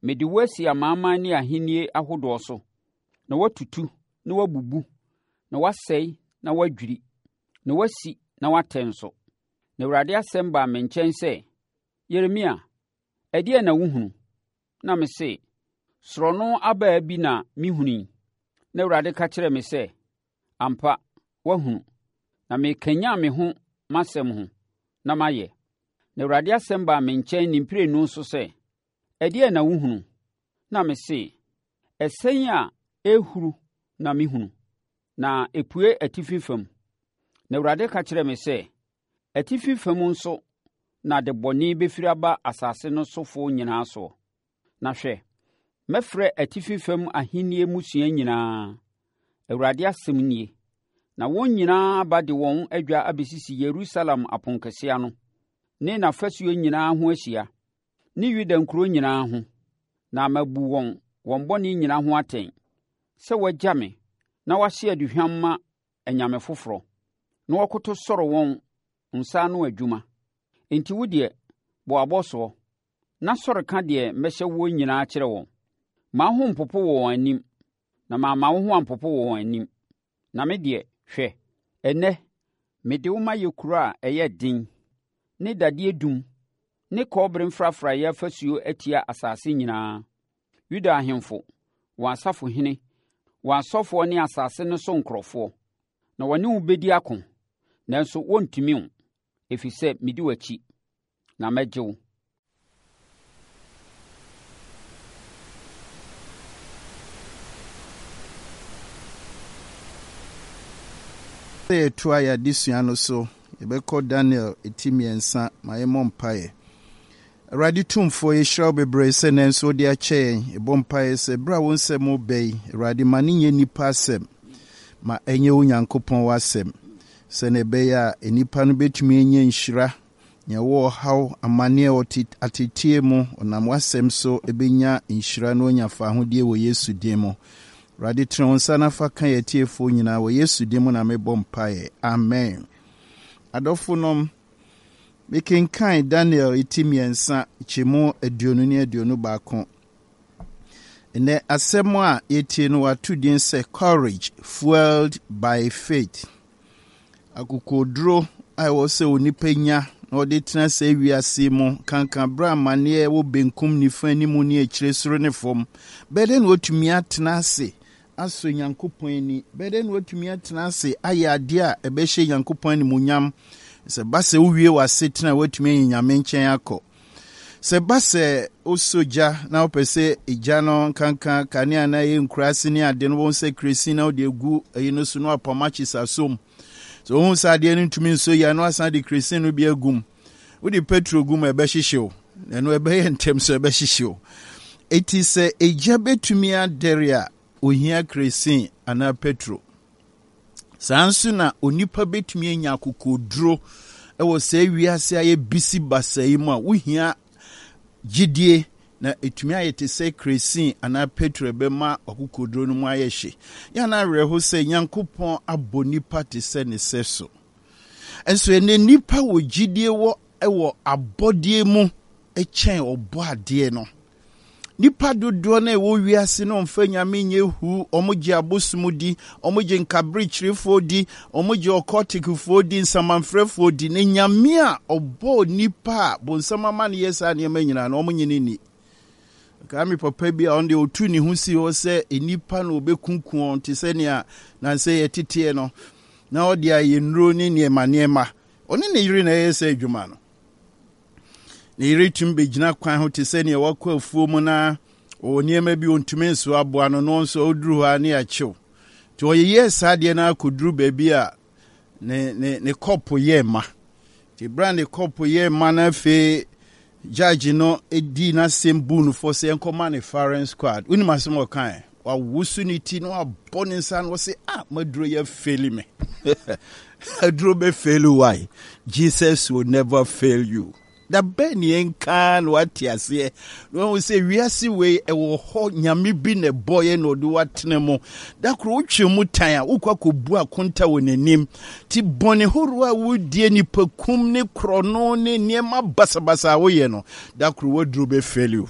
Mede wo asi amanaman ne ahennie ahodoɔ so, na woatutu na woabubu, na woasɛe na woadwiri, na woasi na woatɛ nso. Na Awurade asɛm baa me nkyɛn sɛ, Yeremia, ɛdeɛn na wohunu? Na mese, Sorɔno abaa bi na mehunu yi. Na Awurade ka kyerɛɛ me sɛ, Ampa, woahunu, na merekanyan me ho m'asɛm ho, na mayɛ. Na Awurade asɛm baa me nkyɛn ne mprenu so sɛ, Ɛdeɛn na wohunu? Na mese, Ɛsɛn a ɛrehuru na mehunu, na ɛpue atifi fam. Na Awurade ka kyerɛɛ me sɛ, Atifi fam nso na adebɔne bɛfiri aba asase no sofoɔ nyinaa soɔ. Na hwɛ, mɛfrɛ atifi fam ahennie mmusua nyinaa, Awurade asɛm nie, na wɔn nyinaa aba de wɔn adwa abɛsisi Yerusalem aponkɛseɛ ano, ne n'afasuo nyinaa ho ahyia, ne Yuda nkuro nyinaa ho, na mabu wɔn wɔn bɔne nyinaa ho atɛn, sɛ wɔagya me na wɔahye aduhwam ma anyame foforɔ, na wɔkoto sɔre wɔn nsa ano adwuma. Enti wo deɛ, bɔ abɔsoɔ, na sɔre ka deɛ mɛhyɛ woɔ nyinaa kyerɛ wɔn. Mma wo ho mpopo wɔ wɔn anim, na mamma wo ho ampopo wɔ wɔn anim. Na me deɛ, hwɛ, ɛnnɛ mede wo mayɛ kuro a ɛyɛ den, ne dadeɛ dum ne kɔbere mfrafraeɛ afasuo atia asase nyinaa. Yuda ahemfo, wɔn asafohene, wɔn asɔfoɔ ne asase no so nkurɔfoɔ. Na wɔne wo bɛdi ako, nanso wɔrentumi wo, ɛfiri sɛ medi w'akyi, na mɛgye wo. Sɛ yɛtoa yɛn adesua no so, yɛbɛkɔ Daniel ti mmiɛnsa. Ma yɛmmɔ mpaeɛ. Awurade Tumfoɔ, yɛhyira wo bebree sɛ nnɛ nso wode akyɛ yɛn. Yɛbɔ mpaeɛ sɛ berɛ a wo nsɛm reba yi, Awurade, ma no nyɛ nnipa asɛm, ma ɛnyɛ wo Nyankopɔn w'asɛm, sɛdeɛ ɛbɛyɛ a nnipa no bɛtumi anya nhyira, nea ɛwɔ ɔhaw, amaneɛ, ɔte ateteɛ mu, ɔnam w'asɛm so ɛbɛnya nhyira na wanya fahodie wɔ Yesu din mu. Awurade, tene wo nsa na fa ka yɛn atiefoɔ nyinaa wɔ Yesu din mu na mebɔ mpaeɛ. Amen. Adɔfonom, Mekenkan Daniel ti mmiɛnsa kyɛmu 20 ne 21. Nnɛ asɛm a yɛtie no wɔato din sɛ Courage Fueled by Faith. Akokoɔduro a ɛwɔ sɛ onipa nya na ɔde tena sɛ wiase mu kanka berɛ amanneɛ wɔ benkum nifa anim ne akyire soro ne fam. Bɛyɛ dɛn na watumi atena ase asɔ Nyankopɔn ani? Bɛyɛ dɛn na woatumi atena ase ayɛ adeɛ a ɛbɛhyɛ Nyankopɔn animuonyam? Sɛ ba sɛ wowie w'asetena a, woatumi anya Nyame nkyɛn akɔ. Sɛ ba sɛ wosɔ gya na wopɛ sɛ gya no nkanka kanea na ɛyɛ nkuraase ne ade no, wɔn sɛ kresin na wode agu ɛyi no so na wapam akyes asom. Sɛ wohu sɛ adeɛ no ntumi nsɔ yie a, na wasan de kresin no bi agum. Wode petro gu mu a ɛbɛhyehye wo, ɛno ɛbɛyɛ ntɛm so ɛbɛhyehye wo. Eti sɛ egya betumi adɛre a, ohia kresin anaa petro. Saa nso na onipa betumi anya akokoduro wɔ saa wiase a yɛ bisi basa yi mu a wohia gyidie na etumi ayɛ te sɛ kresin anaa petro ɛbɛma akokoduro no mu ayɛ hye. Yɛn na awerɛho sɛ Nyankopɔn abɔ nipa te sɛ ne sɛso. Nso ɛnɛ nipa wɔ gyidie wɔ wɔ abɔdeɛ mu kyɛn ɔbɔ adeɛ no. Nipa dodoɔ no a ɛwɔ wiase no mfa nyame nyɛ hu, wɔn gye abosom di, wɔn gye nkaberekyerefoɔ di, wɔn gye ɔkɔtikfoɔ di, nsamanfrɛfoɔ di. Na nyame a ɔbɔɔ nipa a bonsam ama no yɛ saa nneɛma nyinaa no, wɔn nye no nni. Kaa me papa bi a ɔno deɛ ɔtu ne ho si hɔ sɛ nnipa na ɔbɛkunku wɔn te sɛ nea nansɛ yɛteteɛ no, na ɔde ayɛ nnuro ne nneɛma nneɛma. Ɔne ne yere na ɛyɛ sɛ adwuma no. Ne yere tumi bɛgyina kwan ho te sɛ nea wakɔ afuo mu na ɔwɔ nneɛma bi ɔntumi nso aboa no, no nso ɔduru hɔ a ne akyew. Nti ɔyeyɛɛ saa adeɛ no akɔduru baabi a ne ne ne kɔpo yɛɛ ma. Nti berɛ a ne kɔpo yɛɛ ma no afei judge no dii n'asɛm buu no fɔ sɛ ɛnkɔma ne firing squad. Wonim asɛm a ɔkae? Wawoso ne ti na wabɔ ne nsa na ɔse, ah, maduro yɛ faili me. Aduro bɛ fail why? Jesus will never fail you. Da bɛn ne yɛnka na wate aseɛ na wahu sɛ wiase wei ɛwɔ hɔ nyame bi na ɛbɔeɛ na ɔde watena mu. Da koro wotwe mu tan a wokɔ akɔbu akonta wɔ n'anim. Ti bɔne horoɔ a wodie nipakum ne korɔno ne nneɛma basabasa a woyɛ no, da koro waduro bɛ fail you.